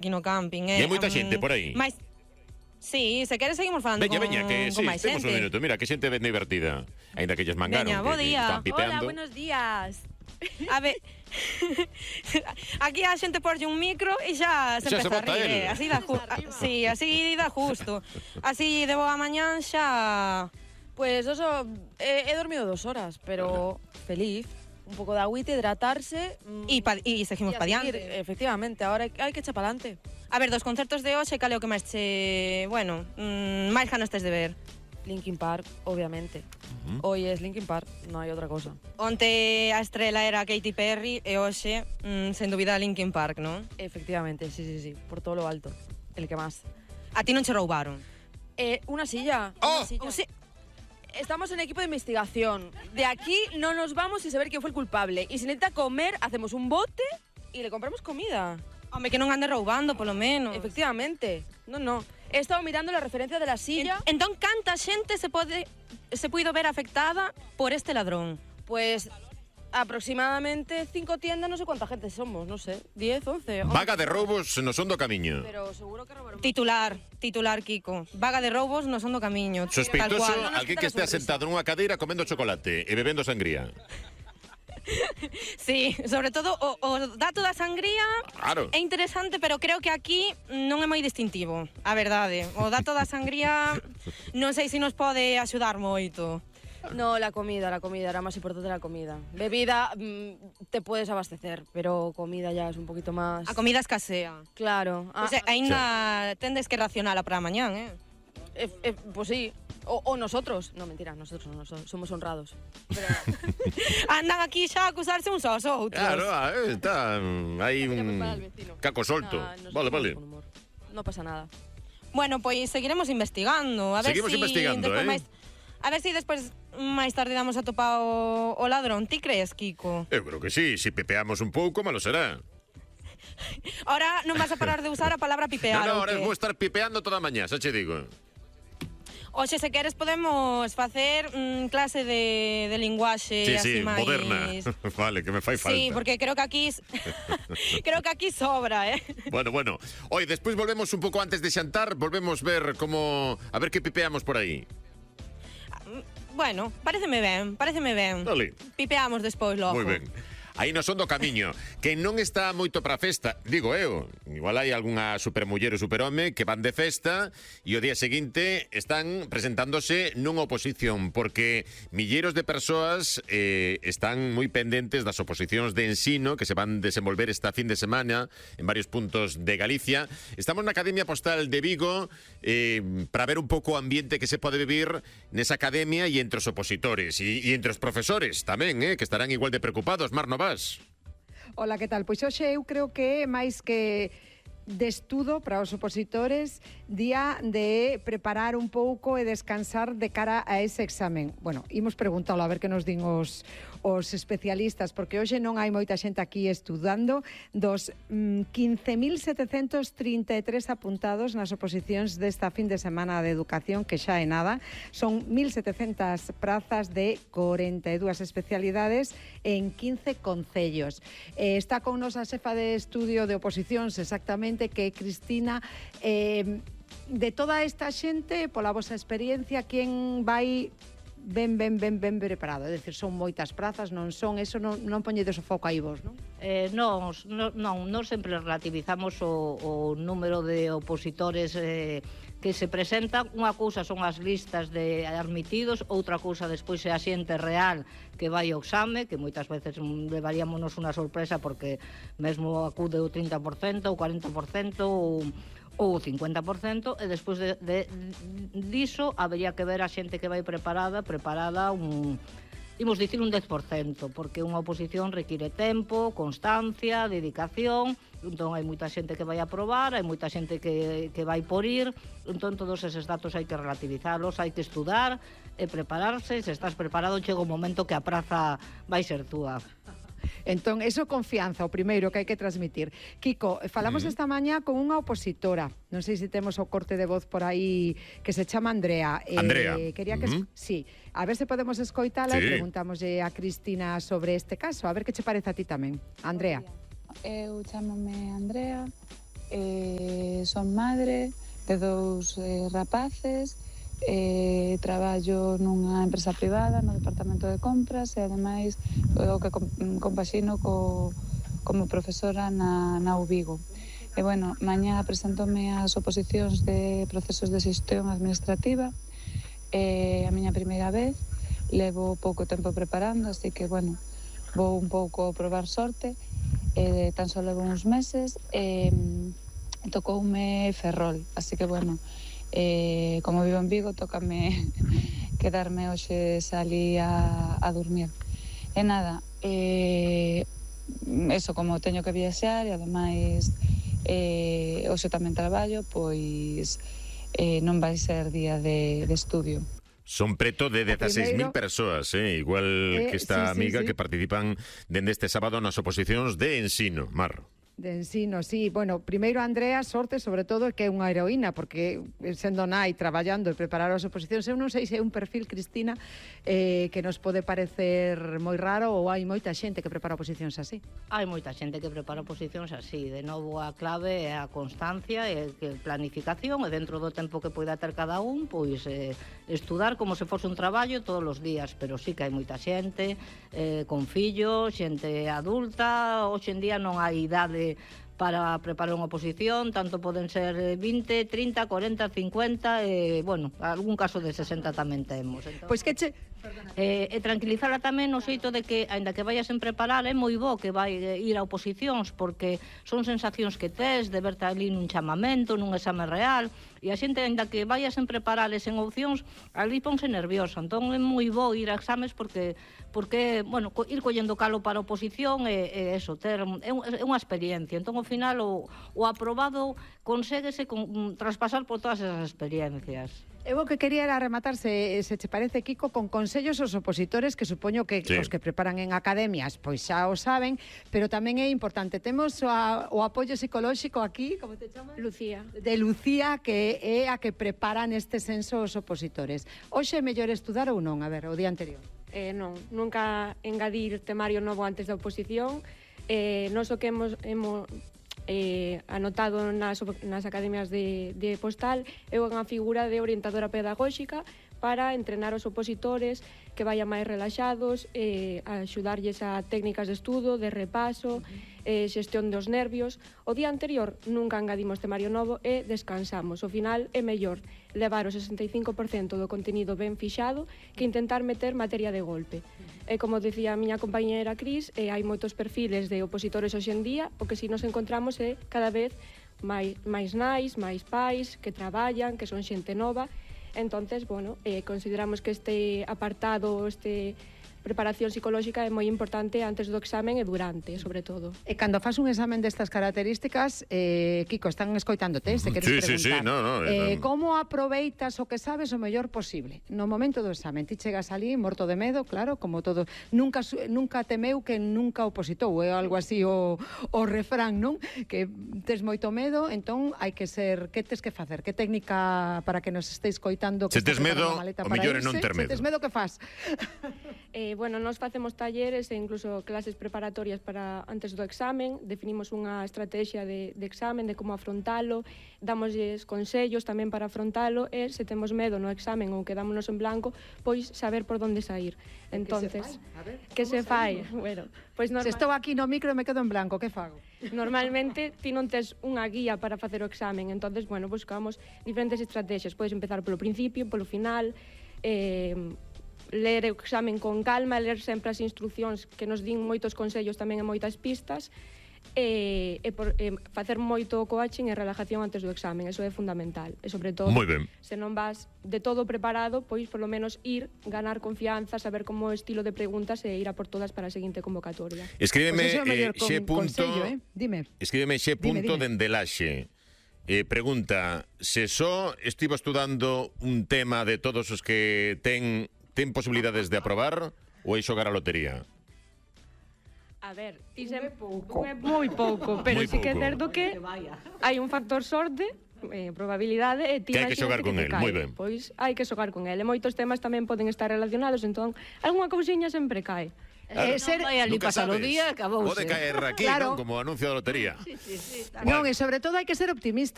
aquí no camping. E hai moita xente por aí. Mais, sí, se queres seguimos falando Veña, que sí, con máis temos un xente. minuto. Mira, que xente ben divertida. Ainda que lles mangaron, Veña, bo que día. están pipeando. Hola, buenos días. A ver, aquí a xente porlle un micro e xa se Xa se empeza a bota rir. el. Así dá sí, así dá justo. Así de boa mañán xa... Pues eso, he dormido 2 horas, pero feliz. Un poco de agüita, hidratarse. E seguimos y a pa seguir, diante. efectivamente, ahora hai que echar para adelante. A ver, dos concertos de hoxe, cal é o que máis che... Bueno, máis ganas tes de ver? Linkin Park, obviamente. Hoy es Linkin Park, no hay otra cosa. Onte a estrela era Katy Perry e hoxe, sen dúbida, Linkin Park, non? Efectivamente, sí, por todo lo alto. El que más. A ti non che roubaron? Una silla. ¡Oh! Una silla. O sea, Estamos en equipo de investigación. De aquí no nos vamos sin saber quién fue el culpable. Y si necesita comer, hacemos un bote y le compramos comida. home, que non ande roubando, polo menos. Efectivamente. No. He estado mirando la referencia de la silla. Entón, canta xente se puido ver afectada por este ladrón? Pues aproximadamente 5 tiendas, no sé cuánta gente somos, no sé, 10, 11. Vaga de roubos no son do camiño. Pero seguro que robaron. Titular, Kiko. Vaga de roubos no son do camiño. Sospeitoso, Tal cual. alguén que estea sentado nunha cadeira comendo chocolate e bebendo sangría. Sí, sobre todo o dato da sangría Claro. é interesante, pero creo que aquí non é moi distintivo, a verdade. O dato da sangría non sei se nos pode axudar moito. No, la comida, era más importante la comida. Bebida, te puedes abastecer, pero comida ya es un poquito más... A comida escasea. Claro. O sea, aínda tendes que racionala para mañán, Pues sí. O nosotros. No, mentira, nosotros no somos honrados. Pero... Andan aquí xa a acusarse uns aos outros. Claro, está aí Voy a un preparar al vecino. caco solto. Nosotros Vale. con humor. No pasa nada. Bueno, pois seguiremos investigando. A ver Seguimos investigando, despois a ver si despois máis tarde damos a topar o ladrón. Ti crees, Kiko? Eu creo que sí, se pepeamos un pouco, malo será. Ahora non vas a parar de usar a palabra pipear. No, ou ahora que? vou estar pipeando toda a mañá, xa che digo. Oxe, se queres podemos facer clase de linguaxe así Sí, máis... moderna. Vale, que me fai falta. Sí, porque creo que aquí sobra, Bueno. Oi, despois volvemos un pouco antes de xantar, volvemos ver como... A ver que pipeamos por aí. Bueno, pareceme ben. Dale. Pipeamos despois logo. Moi ben. Aí non son do camiño. Que non está moito para festa, digo eu. Igual hai algunha supermuller ou superhome que van de festa e o día seguinte están presentándose nunha oposición, porque milleiros de persoas están moi pendentes das oposicións de ensino que se van desenvolver esta fin de semana en varios puntos de Galicia. Estamos na Academia Postal de Vigo para ver un pouco o ambiente que se pode vivir nesa academia e entre os opositores e entre os profesores tamén, que estarán igual de preocupados. Mar Novas. Ola, que tal? Pois hoxe eu creo que é máis que de estudo para os opositores, día de preparar un pouco e descansar de cara a ese examen. Bueno, imos preguntalo a ver que nos din os especialistas, porque hoxe non hai moita xente aquí estudando. Dos 15.733 apuntados nas oposicións desta fin de semana de educación, que xa é nada, son 1.700 prazas de 42 especialidades en 15 concellos. Está con nos a xefa de estudio de oposicións, exactamente, que é Cristina. De toda esta xente, pola vosa experiencia, quen vai ben preparado? É dicir, son moitas prazas, non son, eso non poñedes o foco aí vos, non? Non sempre relativizamos o número de opositores que se presentan. Unha cousa son as listas de admitidos, outra cousa despois é a xente real que vai ao exame, que moitas veces levaríamonos unha sorpresa porque mesmo acude o 30%, o 40% ou o 50%, e despois diso habería que ver a xente que vai preparada imos dicir un 10%, porque unha oposición require tempo, constancia, dedicación. Entón hai moita xente que vai aprobar, hai moita xente que vai por ir. Entón todos eses datos hai que relativizalos, hai que estudar e prepararse. Se estás preparado, chega o momento que a praza vai ser túa. Entón, eso confianza, o primeiro que hai que transmitir. Kiko, falamos esta mañá con unha opositora. Non sei se temos o corte de voz por aí, que se chama Andrea. Andrea. Quería que... Sí, a ver se podemos escoitala Sí. e preguntámoslle a Cristina sobre este caso. A ver que che parece a ti tamén. Andrea. Eu chamome Andrea, Son madre de 2 rapaces, traballo nunha empresa privada no departamento de compras e ademais o que compaxino como profesora na UVigo. E bueno, mañá presentóme as oposicións de procesos de xestión administrativa, a miña primeira vez, levo pouco tempo preparando, así que bueno, vou un pouco probar sorte, tan só levo uns meses, tocoume Ferrol, así que bueno, como vivo en Vigo, tócame quedarme hoxe salí a dormir. E nada, eso, como teño que viaxar e ademais hoxe tamén traballo, pois non vai ser día de estudio. Son preto de 16.000 persoas, igual que esta amiga que participan dende este sábado nas oposicións de ensino, Mar. De ensino, sí. Bueno, primeiro, Andrea, sorte, sobre todo, que é unha heroína, porque sendo nai, traballando e preparar as oposicións, eu non sei se é un perfil, Cristina, que nos pode parecer moi raro ou hai moita xente que prepara oposicións así. Hai moita xente que prepara oposicións así. De novo, a clave é a constancia e a planificación, e dentro do tempo que poida ter cada un, pois estudar como se fose un traballo todos os días, pero sí que hai moita xente con fillos, xente adulta. Hoxe en día non hai idade para preparar unha oposición, tanto poden ser 20, 30, 40, 50, bueno, algún caso de 60 tamén temos. Entón, Pois que che... tranquilizala tamén no xeito de que, aínda que vayas en preparar, é moi bo que vai ir a oposicións, porque son sensacións que tes de verte ali nun chamamento, nun exame real, e a xente, aínda que vayas en preparar en opcións, ali ponse nerviosa. Entón é moi bo ir a exames porque bueno, ir collendo calo para a oposición é eso, ter é unha experiencia. Entón, ao final, o aprobado conséguese traspasar por todas esas experiencias. Eu o que quería era rematar, se che parece, Kiko, con consellos aos opositores, que supoño que os que preparan en academias pois xa o saben, pero tamén é importante. Temos o apoio psicolóxico aquí, como te chamas? Lucía. De Lucía, que é a que prepara neste senso os opositores. Hoxe é mellor estudar ou non? A ver, o día anterior. Non, nunca engadir temario novo antes da oposición. Nos o que hemos anotado nas academias de postal é unha figura de orientadora pedagóxica para entrenar os opositores que vayan máis relaxados, axudarlles a técnicas de estudo, de repaso, xestión dos nervios. O día anterior nunca engadimos temario novo e descansamos. Ao final é mellor levar o 65% do contenido ben fixado que intentar meter materia de golpe. E como decía a miña compañera Cris, hai moitos perfiles de opositores hoxe en día, o que si nos encontramos é cada vez máis nais, máis pais, que traballan, que son xente nova. Entonces, bueno, consideramos que este apartado, preparación psicolóxica é moi importante antes do examen e durante, sobre todo. E cando faz un examen destas características, Kiko, están escoitándote, se queres preguntar. Como aproveitas o que sabes o mellor posible? No momento do examen, ti chegas ali morto de medo, claro, como todo. Nunca temeu que nunca opositou, é algo así o refrán, non? Que tes moito medo, entón hai que ser... Que tes que facer? Que técnica para que nos estéis coitando? Se tes medo, o mellor é non ter medo. Se tes medo, que fas? Bueno, nos facemos talleres e incluso clases preparatorias para antes do examen, definimos unha estrategia de examen, de como afrontalo, damosles consellos tamén para afrontalo e se temos medo no examen ou quedámonos en blanco, pois saber por onde sair. Entonces, que se fai? Bueno, pois se estou aquí no micro e me quedo en blanco, que fago? Normalmente ti non tes unha guía para facer o examen, entonces, bueno, buscamos diferentes estrategias. Podes empezar polo principio, polo final, ler o examen con calma, ler sempre as instruccións que nos din moitos consellos tamén e moitas pistas, e facer moito coaching e relajación antes do examen, eso é fundamental. E sobre todo, se non vas de todo preparado, pois polo menos ir, ganar confianza, saber como o estilo de preguntas e ir a por todas para a seguinte convocatoria. Escríbeme xe punto dende Laxe. Pregunta, se só estivo estudando un tema de todos os que ten posibilidades de aprobar ou é xogar a lotería? A ver, é moi pouco, pero sí que é certo que hai un factor sorte, probabilidade, e ti que hai que xogar con el, moi ben. Pois hai que xogar con el, e moitos temas tamén poden estar relacionados, entón, algunha cousiña sempre cae. Non vai ali Nunca pasar o sabes. día, acabouse. Pode caer aquí, Claro. non? Como anuncio da lotería. Sí, Non, e sobre todo hai que ser optimista.